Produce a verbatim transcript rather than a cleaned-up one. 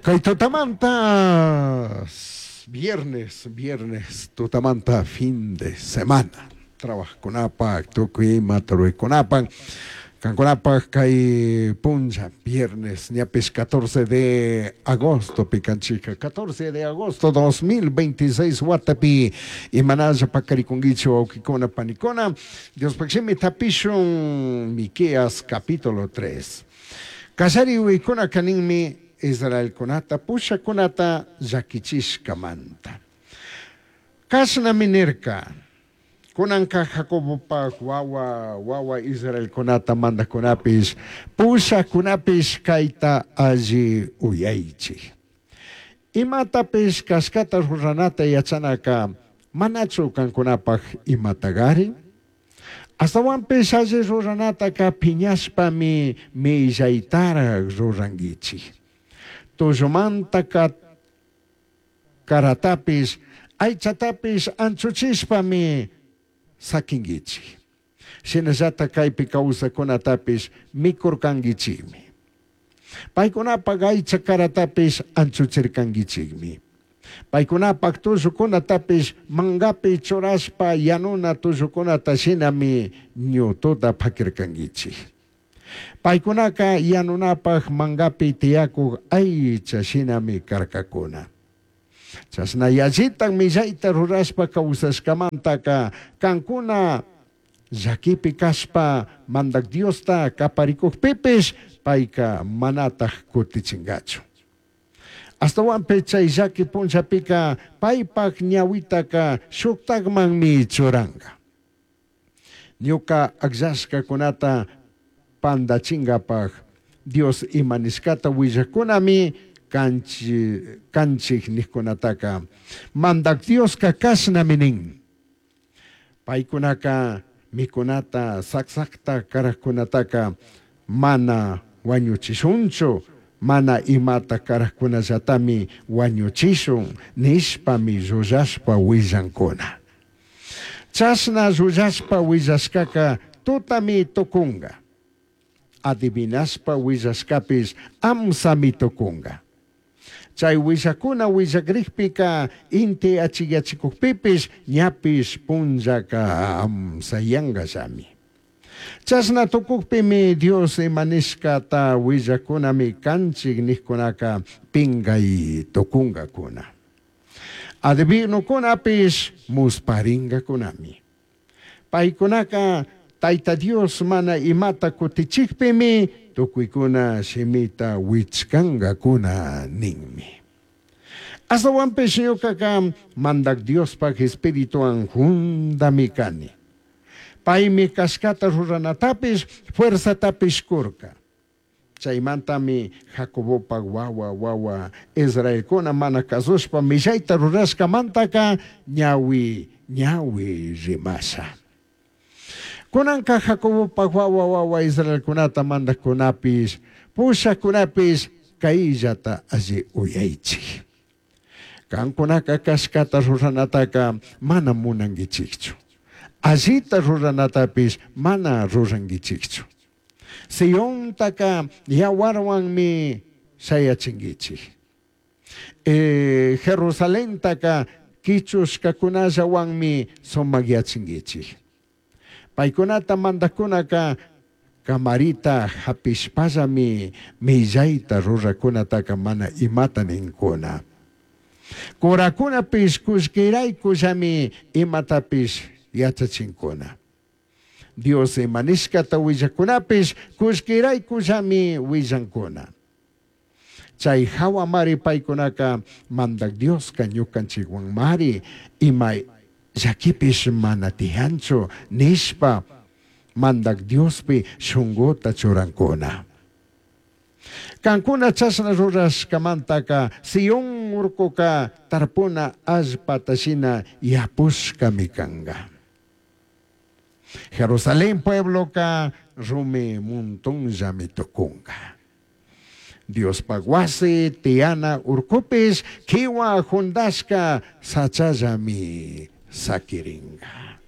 Kay tutamanta viernes, viernes tutamanta fin de semana. Trabajkunapaj, tukuy imata ruraykunapaj. Kankunapaj kay punlla viernes ñapish catorce de agosto pikanchika catorce de agosto dos mil veintiséis watapi imanalla pakarikunkichik wawqikuna panikuna. Diospaj shimi tapishun Miqueas capítulo tres. Kallari uykuna kaninmi Israelkunata pushakunata llakichishkamanta. Kashnami nirka. Kunanka Jacobopaj wawa wawa Israelkunata mandakunapish pushakunapish kayta alli uyaychik. Imatapish kashkata ruranata yachanaka manachu kankunapaj imatagari? Astawanpish alli ruranataka piñashpami millaytaraj rurankichik. Tullumantaka karatapish aychatapish anchuchishpami sakinkichik. Shinallata kaypi kawsakunatapish mikurkankichikmi. Paykunapaj aycha karatapish anchuchirkankichikmi. Paykunapaj tullukunatapish mangapi churashpa yanuna tullukunata shinami ñututa pakirkankichik. Paykunaka yanunapaj mangapi tiyakuq aycha shinami karkakuna. Chashna yallitan millayta rurashpa kawsashkamantaka kankuna llakipi kashpa mandak Diosta kaparikukpipish payka manataj kutichinkachu. Astawanpi chay llaki punllapika paypaj ñawitaka shuktakmanmi churanka. Ñuka akllashkakunata pandachingapaj Dios ima nishkata willakunami kanchi, kanchik nijkunataka mandak Dioska kashnami nin. Paykunaka mikunata saksakta karajkunataka mana wañuchishunchu, mana imata karajkunallatami wañuchishun nishpami llullashpa willankuna. Chashna llullashpa willashkaka tutami tukunka. Adivinashpa willashkapish amsami tukunka. Chay willakuna willakrikpika inti achiyachikukpipish ñapish punllaka amsayankallami. Chashna tukukpimi Dios imanishkata willakunami kanchik nijkunaka pinkay tukunkakuna. Adivinukunapish musparinkakunami. Paykunaka Tayta Dios mana imata kutichikpimi tukuykuna shimita wichkankakuna ninmi. Astawanpish ñukaka mandak Diospaj espirituwan jundami kani. Paymi kashkata ruranatapish fuerzatapish kurka. Chaymantami Jacobopaj wawa wawa Israelkuna mana kasushpa millayta rurashkamantaka ñawi ñawi rimasha. Kunanka Jacobopaj wawa wawa Israelkunata mandakkunapish pushakunapish kayllata alli uyaychik. Kankunaka kashkata ruranataka mana munankichikchu. Allita ruranatapish mana rurankichikchu. Siontaka yawarwanmi shayachinkichik. E, Jerusalentaka kichushkakunallawanmi sumakyachinkichik. Paykunata mandakunaka kamarita hapishpallami millayta rurakunataka mana imata ninkuna. Kurakunapish kullkiraykullami imatapish yachachinkuna. Dios imanishkata willakunapish kullkiraykullami willankuna. Chay hawamari paykunaka mandak Dioska ñukanchikwanmari ima llakipish mana tiyanchu nishpa mandak Diospi shunguta churankuna. Kankuna chashna rurashkamantaka Sion urkuka tarpuna allpata shina yapushkami kanka. Jerusalén puebloka rumi montonllami tukunka. Diospaj wasi tiyana urkupish kiwa jundashka sachallami sakirinka.